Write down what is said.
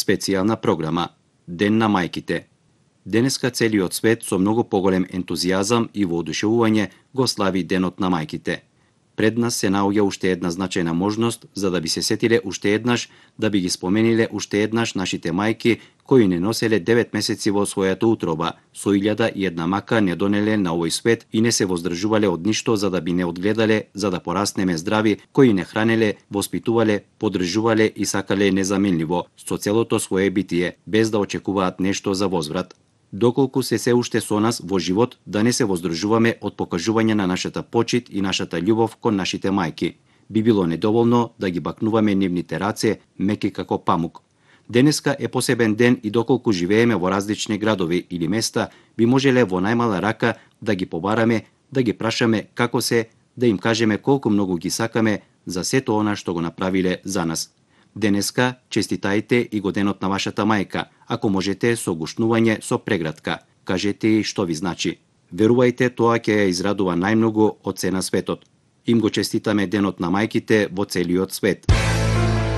Специјална програма Ден на мајките. Денеска целиот свет со многу поголем ентузијазам и воодушевување го слави Денот на мајките. Пред нас се наоѓа уште една значајна можност за да би се сетиле уште еднаш, да би ги спомениле уште еднаш нашите мајки кои не носеле 9 месеци во својата утроба, со 1001 мака не донеле на овој свет и не се воздржувале од ништо за да би не одгледале, за да пораснеме здрави, кои не хранеле, воспитувале, поддржувале и сакале незаменливо со целото свое битие, без да очекуваат нешто за возврат. Доколку се уште со нас во живот, да не се воздржуваме од покажување на нашата почит и нашата љубов кон нашите мајки. Би било недоволно да ги бакнуваме нивните раце, меки како памук. Денеска е посебен ден и доколку живееме во различни градови или места, би можеле во најмала рака да ги побараме, да ги прашаме како се, да им кажеме колку многу ги сакаме за сето она што го направиле за нас. Денеска честитајте и го денот на вашата мајка, ако можете со гушнување со прегратка. Кажете и што ви значи. Верувајте, тоа ќе ја израдува најмногу од се на светот. Им го честитаме денот на мајките во целиот свет.